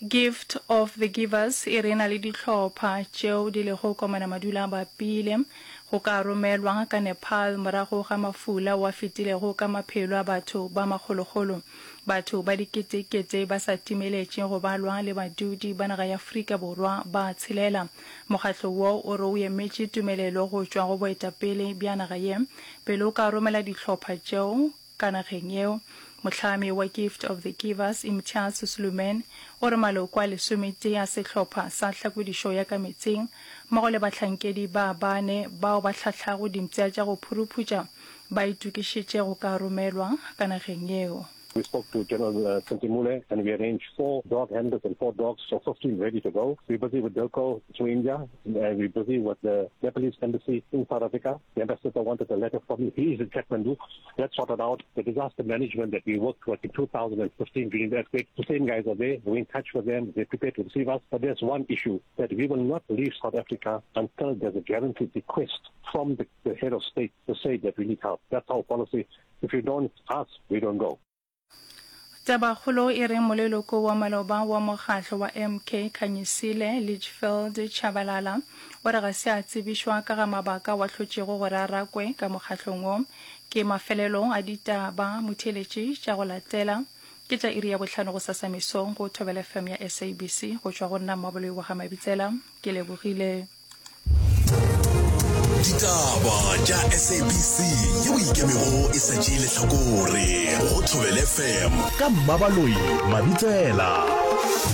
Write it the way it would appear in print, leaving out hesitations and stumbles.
Gift of the Givers e re e na le dihlopha tšeo di lego komana madula a bapile go ka romelwa ka Nepal morago ga mafula ao a fetilego ka maphelo a batho ba makgolokgolo. Batho ba diketekete ba sa timeletše go balwa le badudi ba naga ya Afrika Borwa ba tshelela. Mokgatlo wo o re o emetše tumelelo go tšwa go boetapele bja naga ye pele o ka romela dihlopha tšeo ka nageng yeo. Mohlami wa Gift of the Givers, Imtiaz Sluman, o re maloko a lesometee a sehlopha sa hlakodišo ya ka metsing mmogo le bahlankedi ba bane bao ba hlahlago dimpša tša go phuruphutša ba itokišitše go ka romelwa ka nageng yeo. We spoke to General uh, Sentimule and we arranged four dog handlers and four dogs, so 15 ready to go. We're busy with Dilco to India, and we're busy with the Nepalese embassy in South Africa. The ambassador wanted a letter from me. He is in Kathmandu. That's sorted out. The disaster management that we worked with in 2015 during the earthquake, the same guys are there. We're in touch with them. They're prepared to receive us. But there's one issue that we will not leave South Africa until there's a guaranteed request from the, the head of state to say that we need help. That's our policy. If you don't ask, we don't go. Tabakgolo e re moleloko wa maloba wa mokgatlo wa MK Khanyisile Litchfield Tshabalala o re ga se a tsebišwa ka ga mabaka ao a hlotšego gore a rakwe ka mokgatlong wo. Ke mafelelo a ditaba motheeletši tša go latela ke tša iri ya bohlano gosasa mesong go Thobela FM ya SABC go tšwa go nna Mmaboloi wa ga Mabitsela. Ke lebogile. Ditaba tša SABC yeo e ikemego e sa tšee lehlakore go Thobela FM ka Mmabaloi Mabitsela.